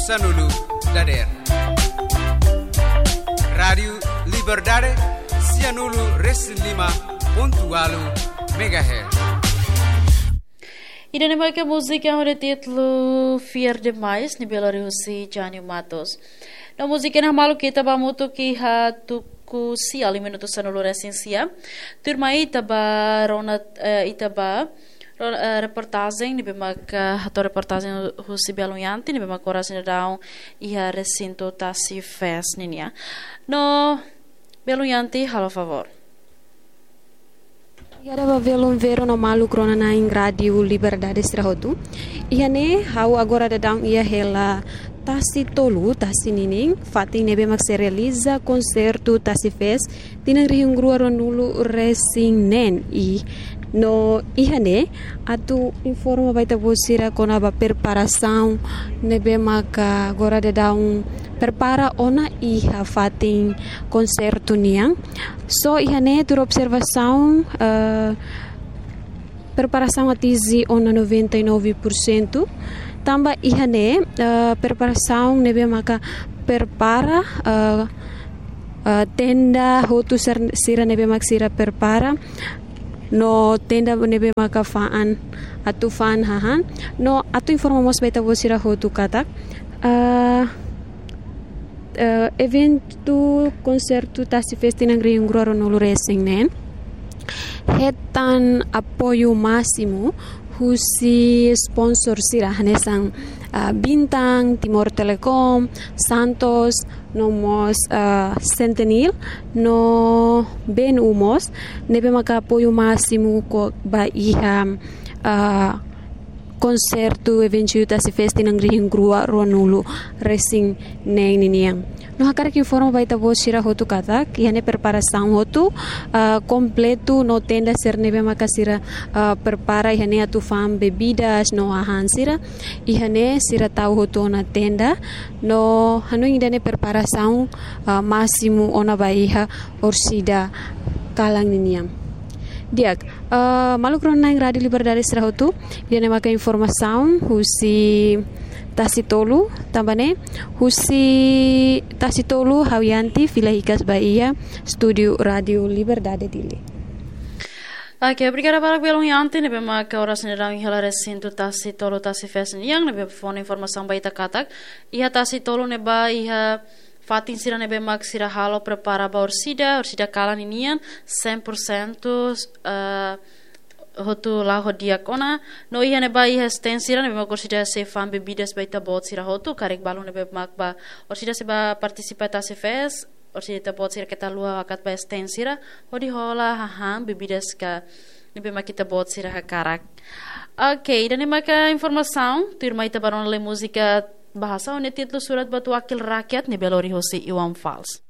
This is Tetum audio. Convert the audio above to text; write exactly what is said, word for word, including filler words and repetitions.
Sanulu dadeer. Rádiu Liberdade, sianulu resin lima pontu ualu megahertz. Ida-ne'e maka múzika ho títulu Fiar Demais, ne'ebé lori husi Jânio Matos. No múzika ne'e hamaluk ita ba hamutuk iha tuku sia, liu minutu sanulu resin sia. Tuirmai ita ba rona, eh, ita ba ro-, eh, reportajen ne'ebé maka hato'o reportajen husi Belo Horizonte, ne'ebé maka oras ne'e daudaun iha resintu Tasi Fest ninian. No Belo Horizonte, halo favór. Obrigada ba belun Vero no maluk rona-na'in Rádiu Liberdade sira hotu. Iha ne'e ha'u agora daudaun iha hela Tasi Tolu, Tasi ninin, fatin ne'ebé mak sei realiza konsertu Tasi Fest tinan rihun rua ruanulu resin neen. I no iha ne'e atu informa ba ita-boot sira kona-ba preparasaun ne'ebé maka agora daudaun prepara ona iha fatin konsertu nian. So iha ne'e tuir observasaun, eh, preparasaun atinje ona noventa e nove por cento. Tanba iha ne'e, eh, preparasaun ne'ebé maka prepara, eh, eh, tenda hotu sir-, sira ne'ebé mak sira prepara. No tenda ne'ebé maka fa'an, atu fa'an hahán. No atu informa mós ba ita-boot sira hotu katak, eh, eh, eventu konsertu Tasi Fest tinan rihun rua ruanulu resin neen hetan apoiu másimu husi sponsor sira hanesan, ah, Bintang, Timor Telecom, Santos, no mós, ah, Sentinel, no B N U mós, ne'ebé maka apoiu másimu ko ba iha, ah, konsertu eventu Tasi Fest tinan rihun rua ruanulu resin neen ninian. No hakarak informa ba ita-boot sira hotu katak, iha ne'e preparasaun hotu, ah, kompletu no tenda sira ne'ebé maka sira, ah, prepara iha ne'e atu fa'an bebidas no hahán sira. Iha ne'e sira tau hotu ona tenda, no hanoin ida-ne'e preparasaun, ah, másimu ona ba iha orsida kalan ninian. Di'ak, eh, maluk rona-na'in Rádiu Liberdade sira hotu, ida-ne'e maka informasaun husi Tasi Tolu, tanba ne'e husi Tasi Tolu ha'u Yanti fila hikas ba iha estúdiu Rádiu Liberdade Dili. Oke, obrigada barak belun Yanti, ne'ebé maka oras ne'e daudaun iha hela resintu Tasi Tolu Tasi Fest nian, ne'ebé fó ona informasaun ba ita katak iha Tasi Tolu ne'ebá iha fatin sira ne'ebé mak sira halo prepara ba orsida, orsida kalan ninian, cem por cento, eh, hotu la'o ho di'ak ona. No iha ne'ebá iha stand sira ne'ebé mak orsida sei fa'an bebidas ba ita-boot sira hotu, karik balun ne'ebé mak ba orsida sei ba partisipa Tasi Fest, orsida ita-boot sira keta haluha hakat ba stand sira, hodi hola hahán bebidas ka ne'ebé mak ita-boot sira hakarak. Oke, ida-ne'e maka informasaun, tuirmai ita ba rona lai múzika bahasa ho títulu Surat buat Wakil Rakyat ne'ebé lori hosi Iwan Fals.